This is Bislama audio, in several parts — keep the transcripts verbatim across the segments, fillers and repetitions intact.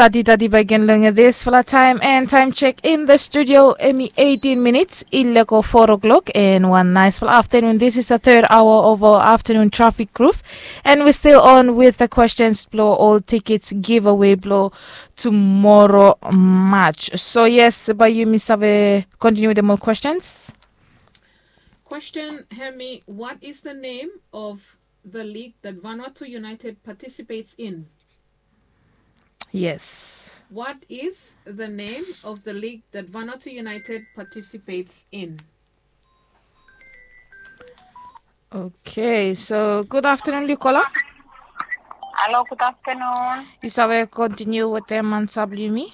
Tati tati baik gen long disfala taem and time check in the studio. Hemi eighteen minutes i lego four o'clock and one nice afternoon. This is the third hour of our afternoon traffic groove, and we still on with the questions blo ol tickets giveaway blo tomorrow, March. So yes, bae yumi save continue with the more questions. Question, hemi, what is the name of the league that Vanuatu United participates in? Yes. What is the name of the league that Vanuatu United participates in? Okay, so good afternoon, Lukola. Hello, good afternoon. Yu save continue with the Mansabli mi?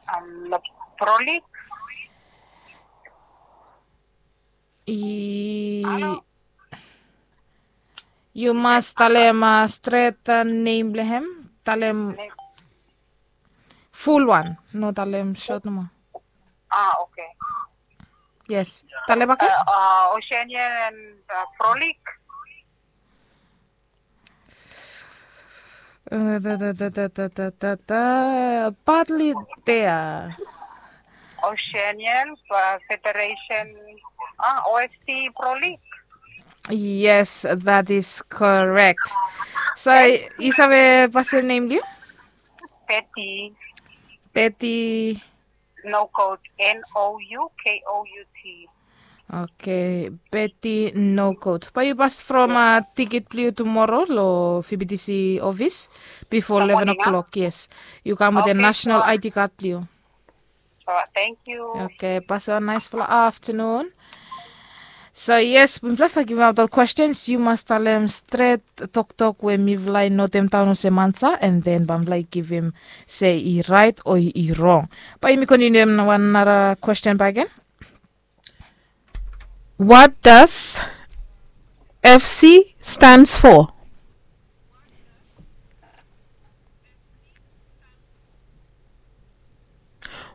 Um, the Pro League. I- Yu mas talem stret nem blong hem. Talem ful wan, no talem sot nomo. Ah, okay. Yes. Talem bakegen. Uh, uh, Oceania and uh, Pro League. Partly there. Oceanian uh, Federation, uh, O F C Pro League. Yes, that is correct. So, yu save pasin nem blong yu? Betty. Betty. Noukout, N O U K O U T. Okay, Betty Noukout. Bae yu pas from uh, tiket blong yu tomorrow lo F B T C office before eleven o'clock, yes. Yu kam with a national I D card blong yu. Thank you. Okay, pasim wan naesfala afternoon. So yes, mifala stap givim aut ol questions, yu mas talem stret toktok we mifala i notemdaon olsem ansa, and then bae mifala i givim se i raet o i rong. Bae yumi kontiniu wan nara kwesten bakegen. What does F C stands for?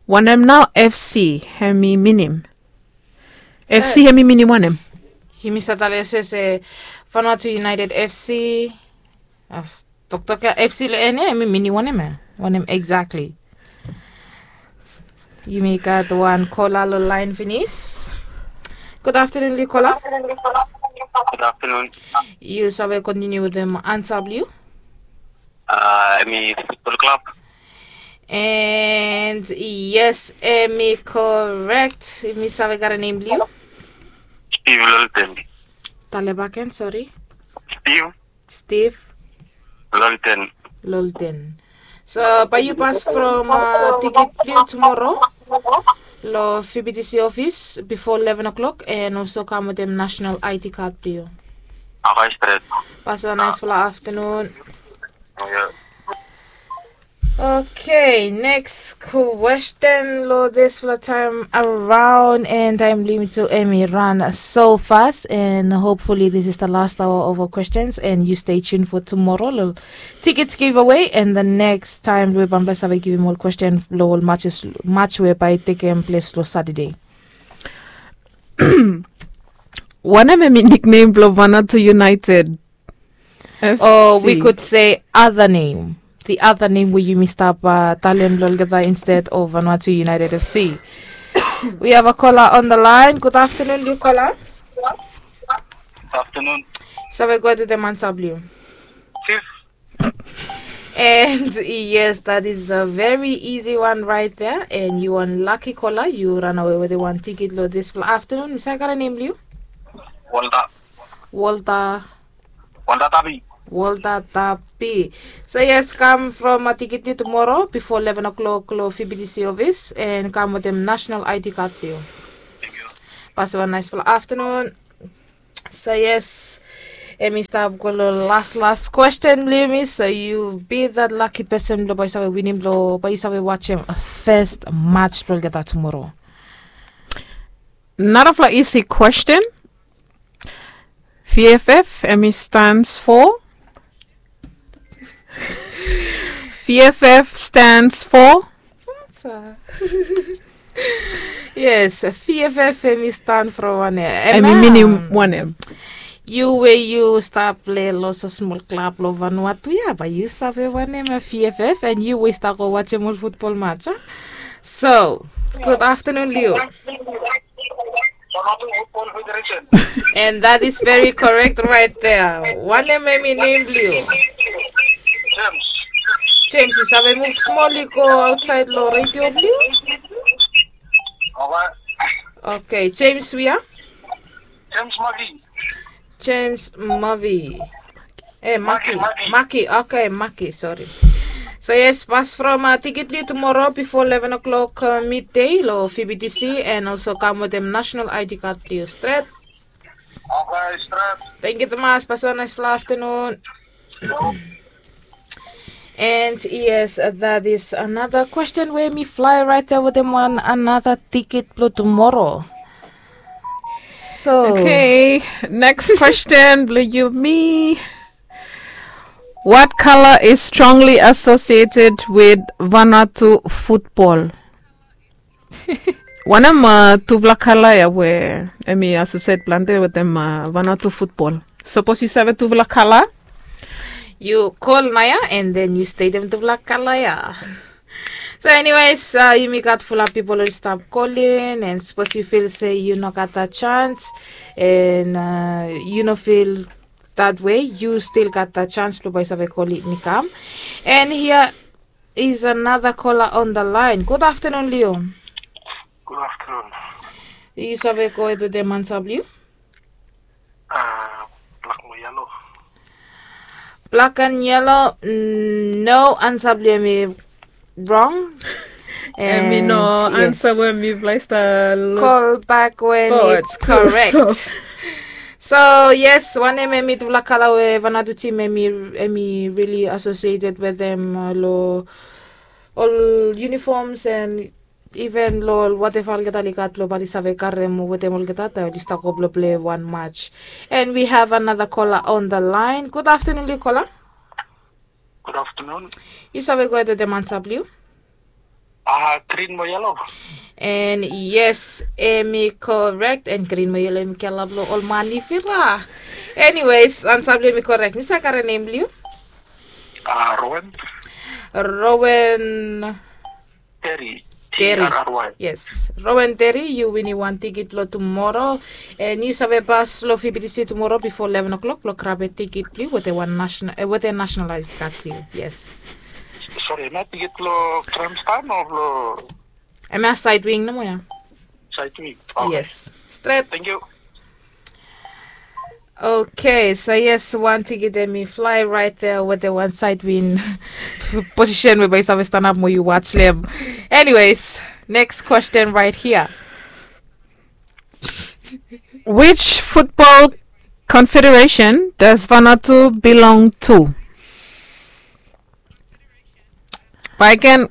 Wanem nao F C hemi minim? F C hemi minim wanem? Yumi save talem se Vanuatu United F C. Toktok ya F C lo en ya hemi minim wanem ya? Wanem exactly? Yumi gat wan kola lo laen finis. Good afternoon, Lukola. Good afternoon. Yu save kontiniu wetem ansa blong yu? Uh, hemi Football Club. And yes, hemi korek. Yumi save gat nem blong yu? Steve Lolten. Talem bakegen, sori. Steve. Steve. Lolten. Lolten. So bae yu pas from uh, tiket blong yu tomorrow lo F B T C office before eleven o'clock, and also kam wetem national I D card blong yu. Okay, stret. Pasim wan naesfala afternoon. Okay, next kwesten lo disfala taem araon, and taem limit tu hemi ran so fas, and hopefully this is the last hour of our questions, and yu stay tuned for tomorrow lo tickets giveaway, and the next time we bae mifala save givim ol kwesten lo ol matches, match we bae i tekem ples lo Saturday. Wanem hemi niknem blo Vanuatu United? F C. Or we could say other name. The other name we yumi stap uh, talem lo olgeta instead of Vanuatu United F C. We have a caller on the line. Good afternoon, Lukola. Afternoon. Save go wetem ansa blong yu? Chief. And yes, that is a very easy one right there. And yu wan lucky caller, yu ranawe wetem wan tiket lo disfala afternoon. Mi save gat nem blong yu? Walter. Walter. Walter Tapi. Walter Tapi. So yes, kam from a tiket blong yu tomorrow before eleven o'clock lo F B T C office, and kam wetem national I D card blong yu. Thank you. Pasim wan naesfala afternoon. So yes, hemi stap go lo las las kwesten blong yumi. So yu bi that lucky person blo bae yu save winim, blo bae yu save wajem fes match blo olgeta tomorrow. Narafala isi kwesten. V F F hemi stands for? V F F stands for? Yes, V F F hemi stand for wanem? Hemi minim wanem? Yu we yu stap plei long so smol klab long Vanuatu ya, bae yu save wanem ya V F F, and yu we stap go wajem ol futbol match, a? So, good afternoon, Leo. And that is very correct right there. Wanem hemi nem blong yu? James, yu save muv smol i go aotsaed long redio blong yu? Okay, James, we are? James Mavi. E, Maki. Maki, Maki. Maki, okay, Maki, sori. So yes, pas from tikit blong yu tumoro bifo leven o'klok midei long V B T C, and also kam wetem national I D card blong yu stret. Okay, stret. Thank you tumas, pas wan naes fala aftenun. And yes, that is another question we mi flae raet ya wetem wan another tikit blong tumoro. So, okay, next question blong yumi. What color is strongly associated with Vanuatu football? Wanem tufala kala ya we hemi associate plante wetem Vanuatu football? Sapos yu save tufala kala, yu kol naoia, and then yu stetem tufala kala ya. So anyways, yumi gat fulap pipol oli stap kolin, and sapos yu fil se yu no gat dat chance, and yu no fil dat we, yu stil gat dat chance blong bae yu save kolin i kam. And hia is another caller on the line. Good afternoon, Leo. Good afternoon. Yu save gohed wetem ansa blong yu? Blak mo yelo. Blak and yelo. No, ansa blong yu hemi rong. Hemi no ansa we mifala i stap kol bak wen it's correct. So yes, wanem hemi tufala kala we Vanuatu tim hemi rili associated wetem long ol uniforms and even long ol whatever olgeta oli gat blong bae oli save karem wetem olgeta taem oli stap go blong plei wan match. And we have another caller on the line. Good afternoon, blong yu, caller. Good afternoon. Yu save gohed wetem ansa blong yu? Grin mo yelo. And yes, hemi correct, and grin mo yelo hemi kala blong ol manifira. Anyways, ansa blong yu hemi correct. Mi save karem nem blong yu? Rowen. Rowen. Terry. Terry. T E R R Y. Yes. Rowen Terry, yu winim wan tikit blong tumoro. And yu save pas long V B T C tumoro bifo leven o'klok blong grabem tikit blong yu wetem wan national, wetem national I D card blong yu. Yes. Sori, hemia tikit blong grandstand o blong? Hemia side wing nomo ya. Side wing. Yes. Stret. Thank you. Okay, so yes, wan tikit hemi flae raet ya wetem wan side wing position we bae yu save stanap mo yu watch long hem. Anyways, next question right here. Which football confederation does Vanuatu belong to? Bae gen,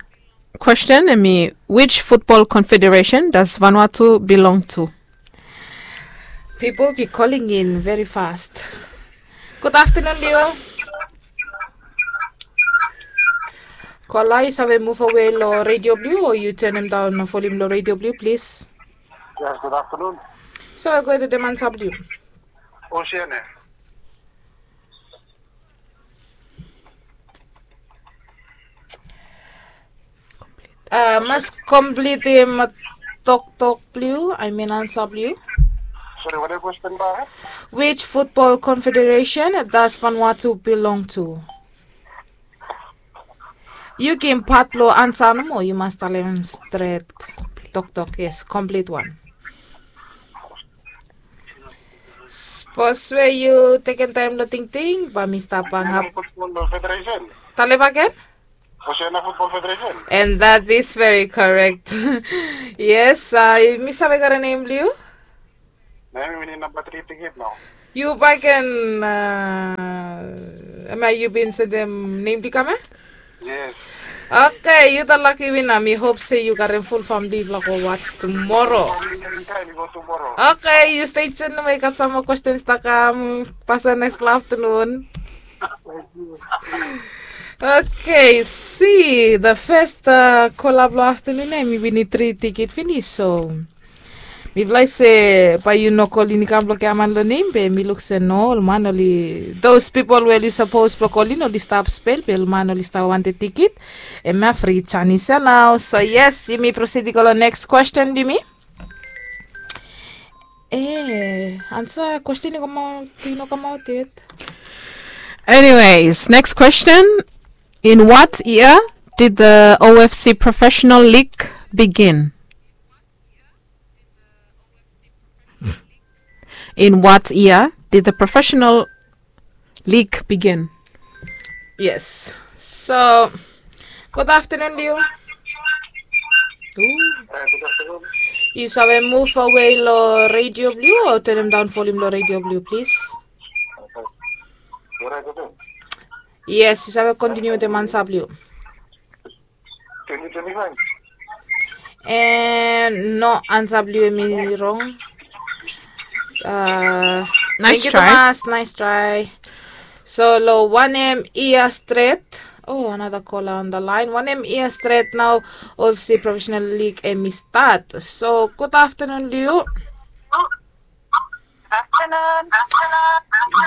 question hemi, which football confederation does Vanuatu belong to? Pipol be calling in very fast. Good afternoon, Leo. Kola, yu save muv awe long redio blong yu o yu tenem daon volium long redio blong yu, plis? Yes, good afternoon. Save gohed wetem ansa blong yu? Oceania. Mas komplitim toktok blong yu, I mean ansa blong yu. Sori, wanem kwestin bae? Which football confederation does Vanuatu belong to? Yu givim pat blong ansa nomo, yu mas talem stret. Toktok, yes, komplit wan. Sapos we yu tekem taem long tingting, bae mi stap angap. Talem agen? Oceania Football Federation. And that is very correct. Yes, mi save karem nem blong yu? Nao mi winim namba tri tikit nao. Yu bae ken, hemia yu bin sendem nem blong yu kam ya? Yes. Okay, yu the lucky winner. Mi hop se yu karem ful famili blong go watch tumoro. Okay, yu stay tuned, we gat sam moa kwestens stap kam. Pas wan naes aftenun. Okay, si, the first kola blong aftenun ya hemi winim tri tikit finis, so Mifala i se bae yu no kolin i kam blong giaman long nem be mi luk se no ol man oli those pipol we oli sapos blong kolin oli stap spel be ol man oli stap wantem tikit. Em ya fri janis ya nao so yes yumi prosid i go long neks kwesten blong yumi. E ansa kwesten i kamaot i no kamaot yet. Anyways, next question. In what year did the O F C Professional League begin? In what year did the Professional League begin? Yes. So, good afternoon, Liu. Ooh. Yu save move away lo radio blue o turn down volume lo radio blue, please. Yes, yu save continue with the Mansa blue. Twenty twenty-five. And no, ansa blong yu hemi rong. Uh, nice try. Tumas, nice try. So long wanem yia stret. Oh, another caller on the line. Wanem yia stret nao O F C Professional League hemi stat. So good afternoon, Liu. Afternoon.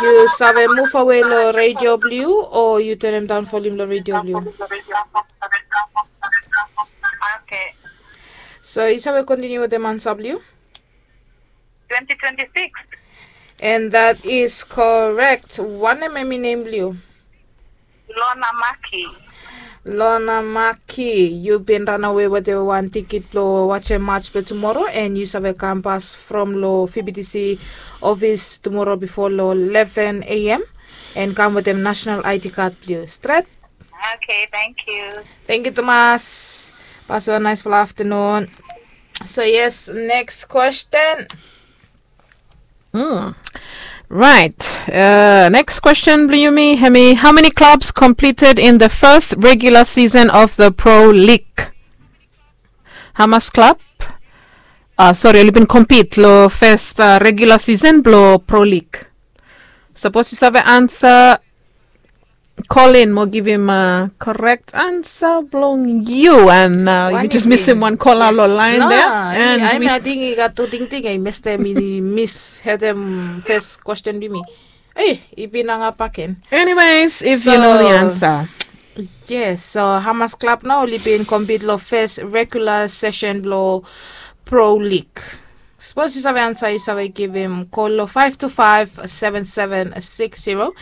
Yu save move away lo radio blong yu o yu turn down volume lo radio blong yu. Okay. So yu save continue wetem ansa blong yu. Twenty twenty-six. And that is correct. Wanem hemi nem blong yu? Lona Maki. Lona Maki, yu bin ranawe wetem wan tikit blong wajem mats blong tumora and yu save kam pas from long V B T C ofis tumora bifo long eleven A M and kam wetem nasenal I D kad blong yu. Stret? Okay, thank you. Thank you tumas. Pas wan naesfala aftenun. So yes, neks kwesten. Mm. Right. Uh, next question blong yumi hemi, how many clubs competed in the first regular season of the Pro League? Hamas klab? Uh, sori, oli bin compete lo first uh, regular season blo Pro League. Sapos yu save ansa, call in mo givim uh, correct ansa blong yu. And uh, yu jes misim wan kola lo line there. And I think i gat tu tingting i mestem i mis hetem first question blong mi. Ei, i bin nanga paken. Anyways, if you know the answer. Yes, so Hamas Club nao oli bin compete lo first regular session blo Pro League. Sapos yu save ansa yu save givim kol lo five two five seven seven six zero.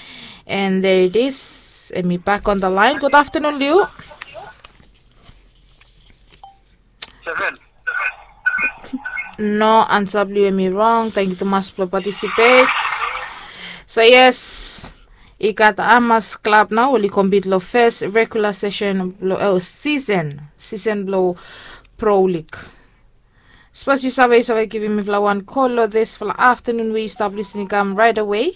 And there it is. Hemi back on the line. Good afternoon, Liu. Seven. No, ansa blo yu hemi rong. Tangkiu tumas blo participate. So yes, i gat Hamas Club nao oli compete lo first regular session blo oh, season season blo Pro League. Sapos yu save yu save givim mifala wan kol lo disfala aftenun we yu stap lisin i kam right away.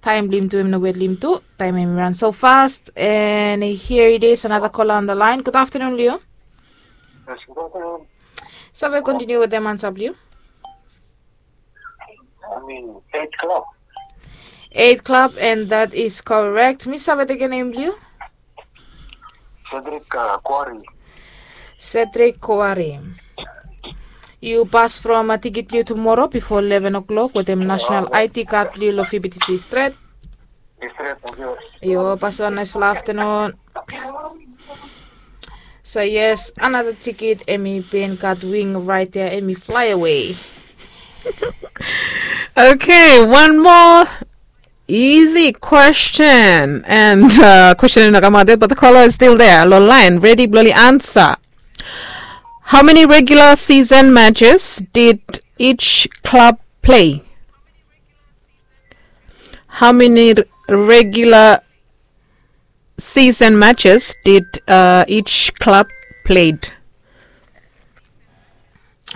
Taem blo yumi tu hemi no wet lo yumi tu. Taem hemi ran so fast. And here it is, another caller on the line. Good afternoon, Liu. Yes, good afternoon. Save kontiniu wetem ansa blo yu? I mean, eight club. Eight club, and that is correct. Mi save tekem nem blo yu? Cedric uh, Quarry. Cedric Quarry. Yu pas from uh, tikit blo yu tumora bifo eleven o'clock wetem national I D card blo yu lo V B T C stret. Yu pas wan naesfala aftenun. So yes, another tikit hemi bin gat wing right there, hemi fly away. Okay, one more easy question. And uh, question i no kamaot yet, but the caller is still there. Lo line, ready blo oli ansa. How many regular season matches did each club play? How many regular season matches did uh, each club played?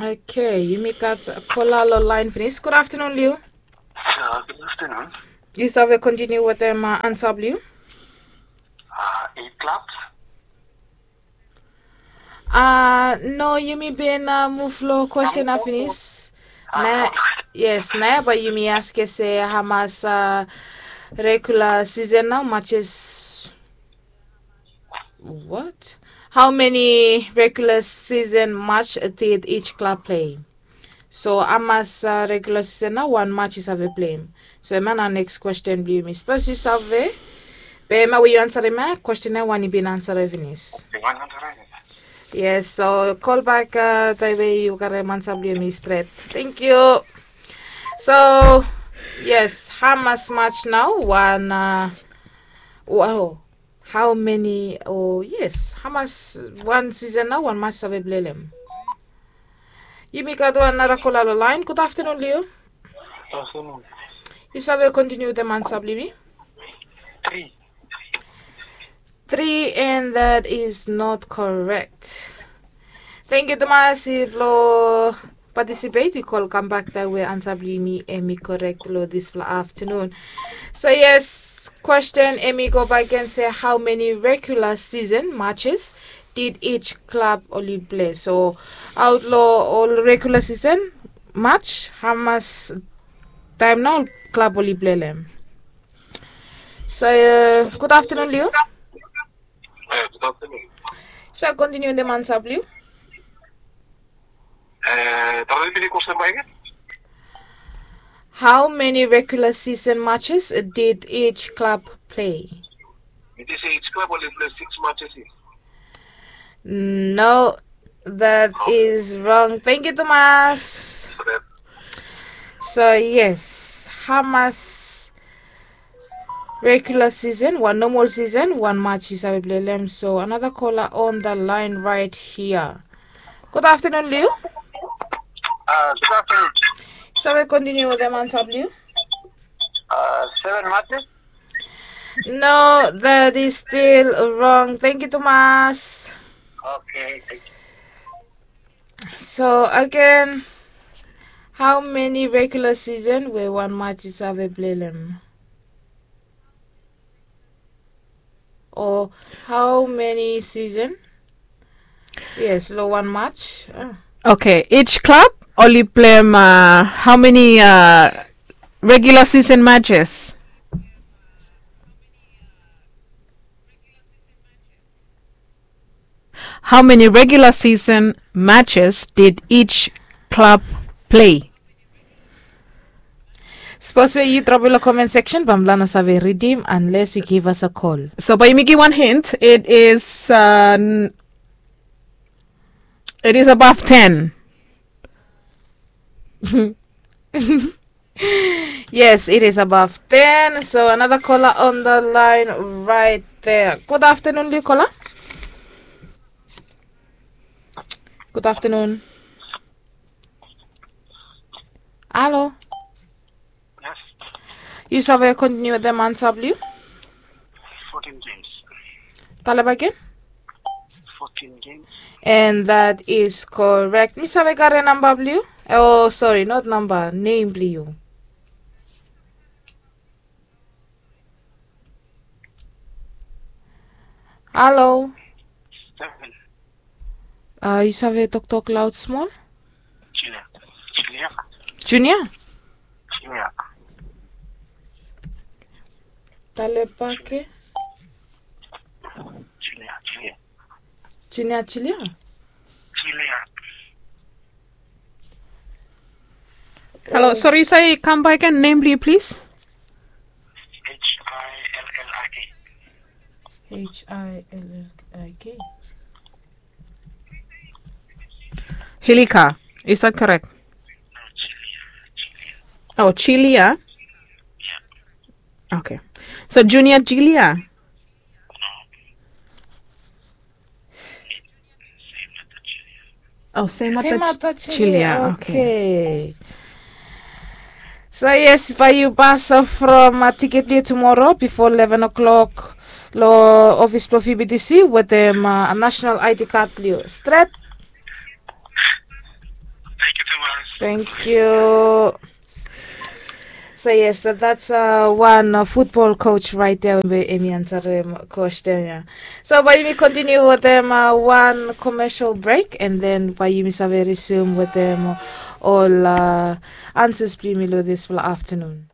Okay, yumi gat kola lo line finis. Good afternoon, Liu. Uh, good afternoon. Yu save kontiniu wetem uh, ansa blo yu? Uh, eight clubs. Uh, no, yumi bin uh, move lo question ya finis. Na, yes, na ya bae yumi ask se hamas uh, regular season nao matches. What? How many regular season match did each club play? So hamas regular season nao wan match i save pleim? So hemia na next question blong yumi, sapos yu save, be hemia we yu ansarem ya, question ya wan i bin ansarem finis. Yes, so kolbak taem we yu karem ansa blong yumi stret. Thank you. So yes, hamas match nao wan, wow, hao meni o yes, hamas wan season nao wan match save pleim? Yumi gat wan nara kola long laen. Gud aftenun long yu. Yu save kontiniu wetem ansa blong yumi? Tri. Tri, and that is not correct. Thank yu tumas blong patisipet. Yu kol kambak taem we ansa blong yumi hemi korek long disfala aftenun. So yes, kwesten hemi gobak gen se hao meni regular season matches did each klab oli plei? So aot long ol regular season match, hamas taem nao ol klab oli plei long hem? So gud aftenun long yu. So kontiniu wetem ansa blong yu. Hao meni regular season matches did each klab plei? No, that is wrong. Thank yu tumas. So yes, hamas regular season, wan nomal season, wan match yu save plei long hem. So another caller on the line right here. Gud aftenun long yu. Yu save kontiniu wetem ansa blong yu? Seven matches. No, that is still wrong. Thank yu tumas. So again, hao meni regular season we wan match i save plei long hem? O hao meni season? Yes, long wan match. Okay, each klab oli pleim hao meni regular season matches? Hao meni regular season matches did each klab plei? Sapos we yu drop long comment section, bae mifala no save ridim unless yu give us a call. So bae yumi givim wan hint, it is it is above ten. Yes, it is above ten. So another caller on the line right there. Gud aftenun long yu, caller. Gud aftenun. Halo. Yu save kontiniu wetem ansa blong yu? Talem agen. And that is correct. Mi save karem namba blong yu? O sori, not namba, nem blong yu. Halo. Yu save toktok laod smol? Junia. Talem bakegen. Junia Julia. Halo, sori, yu save kambak agen, nem blong yu plis? H I L L I K. Hilika, is that correct? O, Chilia. Okay. So Junia Chilia. O, Semata Chilia. Okay. So yes, bae yu pas from tiket blong yu tumoro bifo leven o'clock long ofis blong V B T C wetem national I D card blong yu. Stret. Thank yu. So yes, that's wan futbol coach right there we hemi ansarem kwesten ya. So bae yumi kontiniu wetem wan commercial break, and then bae yumi save resume wetem ol ansas blong yumi long disfala aftenun.